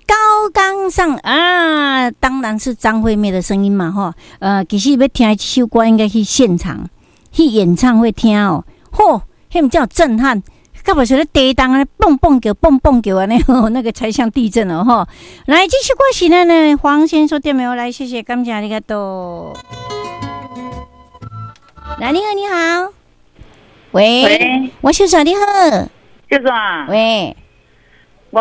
高崗上啊，當然是張惠妹的聲音嘛，吼。其實欲聽這首歌，應該去現場去演唱會聽哦。嚯，彼毋叫震撼，敢無說咧地動按呢蹦蹦叫、蹦蹦叫按呢，那個才像地震哦，吼。來，這首歌是咱的黃先生點的，來，謝謝，感謝，ありがとう。來，你好，你好。喂，喂，我秀莎，你好。秀莎。喂。我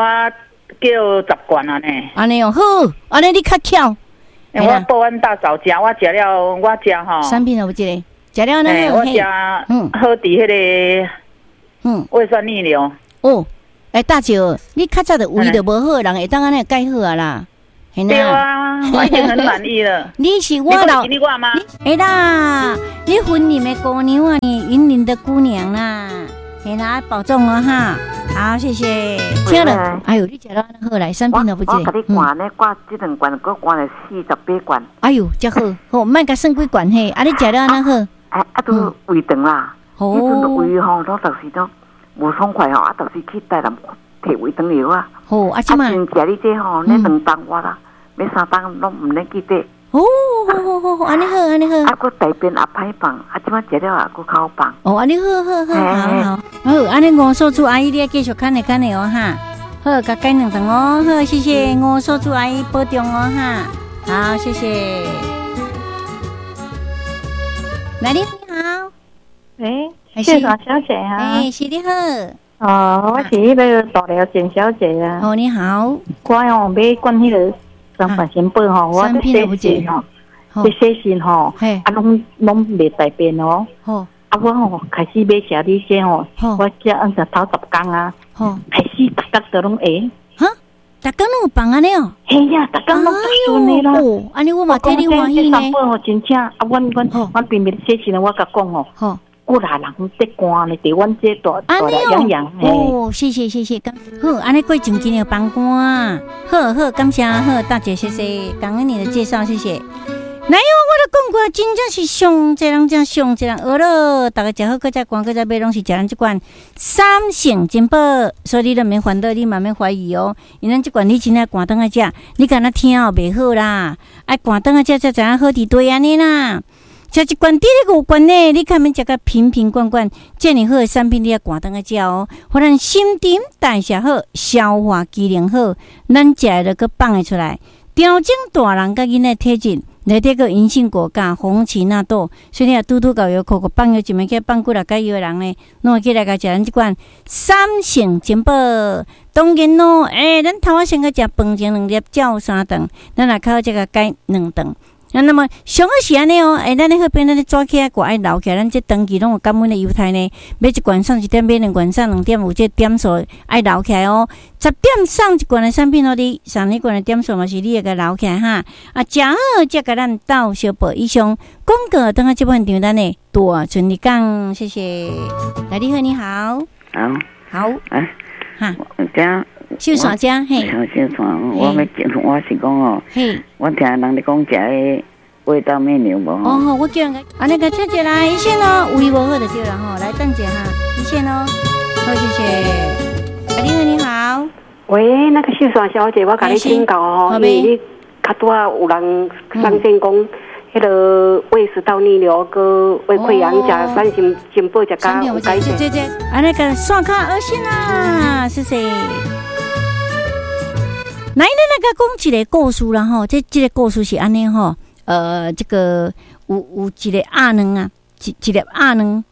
叫10罐啊呢。按呢哦，好，按呢你較巧。欸，我報阮大嫂食，我食了，我食吼。產品有這個，食了呢？我食，好佇彼个，胃酸逆流。哦，欸，大姐，你較早就胃就無好，人會當按呢改好啊啦。對啊，我已經很滿意了。你是我老，你我嗎？會啦，你雲林的姑娘啊，你雲林的姑娘啦，嘿啦，保重哦哈。好，謝謝。聽了，哎呦，你食了好來，產品都不我共你灌呢，灌這兩罐，閣灌了48罐。哎呦，這好，好，莫共算幾罐嘿。啊，你食了按怎好？啊啊，都胃腸啦，彼陣胃吼，攏就是都無爽快吼，啊，就是去台南提胃腸藥啊。好，啊，這擺。啊，食你這吼，呢2冬我啦，欲3冬攏毋免記得。哦，好好好好，按呢好，按呢好。啊，閣大便也歹放，啊，這擺食了也閣較好放。哦，按呢好好好，好好。好，按呢吳素珠阿姨，你愛繼續看咧看咧哦哈。好，共改兩頓哦。好，謝謝吳素珠阿姨保重哦哈。好，謝謝。來，你好。喂，秀莎小姐啊。欸，是你好。哦，我是彼个大寮簡小姐啊。哦，你好。我哦買罐彼个三百仙寶吼，我洗身吼，咧洗身吼，啊，攏攏袂大便哦。啊，我吼開始買食你這吼，我食按食頭10工啊，開始逐工都攏會。哈？逐工攏有放按呢哦？嘿呀，逐工攏順的啦。哦，按呢我嘛替你歡喜呢。這三寶吼真正啊，阮阮阮平平洗身，我共講吼。過來人得寒呢，佇阮這大大癢癢。哦，謝謝謝謝，好，按呢過上真會放寒，好好感謝，好大姐謝謝，感恩你的介紹，謝謝。來喲，我都講過，真正是上濟人食，上濟人學咯，逐家食好，閣再寒，閣再買，攏是食咱這罐三聖珍寶，所以你都免煩惱，你嘛免懷疑哦。因咱這罐你真正寒轉來食，你敢若聽哦袂好啦，愛寒轉來食才知影好佇佗按呢啦。食一罐佇咧五罐呢，你較免食甲瓶瓶罐罐，遮爾好的產品，你愛寒轉來食哦。予咱新陳代謝好，消化機能好，咱食的就閣放會出來。調整大人佮囡仔體質，內底閣銀杏果佮紅芪納豆，所以你若拄拄𠢕藥庫，放藥一暝起放幾若解藥的人呢，攏會起來共食咱這罐三聖珍寶。當然咯，欸，咱頭仔先去食飯前兩粒，照三頓，咱若較好才共改兩頓。啊，那麼上好是按呢哦，欸，咱咧好比咱咧紙起來掛愛留起來，咱這長期攏有感恩的猶太呢。買一罐送一點，買兩罐送兩點，有這點數愛留起來哦。10點送一罐的產品予你，送一罐的點數嘛是你會共留起來哈。啊，食好才共咱鬥相報。以上廣告，轉來這擺場咱的大春日講，謝謝。來，你好，你好。好。好。啊。哈。這。秀山遮嘿。秀山，我欲我是講哦，我聽人咧講食彼胃道逆流無？哦，我叫人按呢共請一來，醫生哦，胃無好就對了吼，來等一下哈，醫生哦，好，謝謝。啊，你好，你好。喂，那個秀山小姐，我共你請教哦，因為你較拄仔有人上線講，彼个胃食道逆流閣胃潰瘍，食三星珍寶食較有改善。按呢共線較噁心啦，謝謝。來，咱來共講一個故事啦吼，這這個故事是按呢吼，這個有一個鴨卵啊，一一粒鴨卵，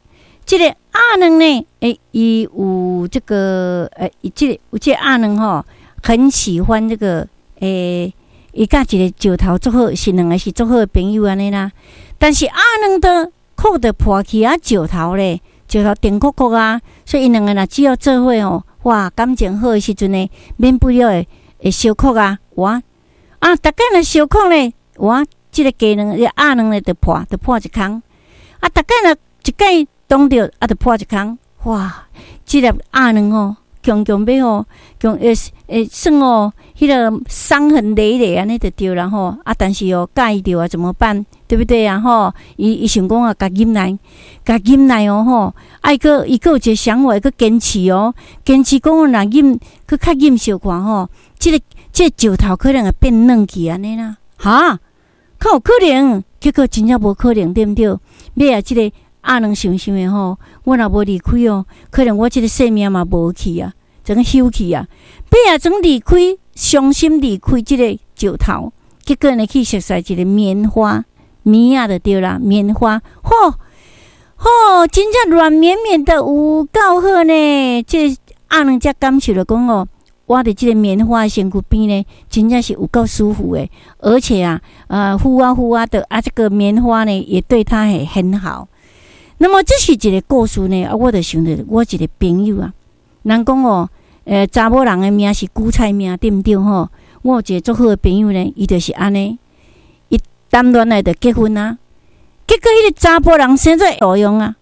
這個鴨卵呢，欸，伊有這個，欸，這個有這個鴨卵吼，很喜歡這個，欸，伊佮一個石頭做好，是兩個是做好的朋友按呢啦。但是鴨卵的殼就破去啊，石頭咧，石頭甜硞硞啊，所以𪜶兩個若只要做伙吼，哇，感情好的時陣呢，免不了會會相哭啊，哇啊，逐擺若相哭咧，哇，這個雞卵、這個鴨卵咧就破，就破一空。啊，逐擺若一擺擋著，啊，就破一空。哇，這粒鴨卵吼，強強欲吼，強會會算哦，彼個傷痕累累按呢就對啦吼。啊，但是哦，佮意著啊，怎麼辦？對不對啊？吼，伊伊想講啊，共忍耐，共忍耐哦吼。啊，伊閣伊閣有一個想法，閣堅持哦，堅持講若忍，閣較忍小可吼。這個石頭可能會變軟去按呢啦，哈，較有可能？結果真正無可能，對毋對？尾仔這個鴨卵想想的吼，我若無離開哦，可能我這個性命嘛無去啊，怎個休去啊？尾仔怎離開，傷心離開這個石頭，結果呢去熟似一個棉花棉仔就對啦，棉花，吼吼，真正軟綿綿的，有夠好呢！這個鴨卵才感受著講哦，我佇這個棉花身軀邊呢，真正是有夠舒服的，而且啊，敷啊敷啊的啊，這個棉花呢也對他也很好。那麼這是一個故事呢，啊，我就想著我一個朋友啊，人講哦，查某人的命是韭菜命，對毋對吼？我有一個足好的朋友呢，伊就是按呢，伊談戀愛就結婚啊，結果彼個查埔人生做路用啊，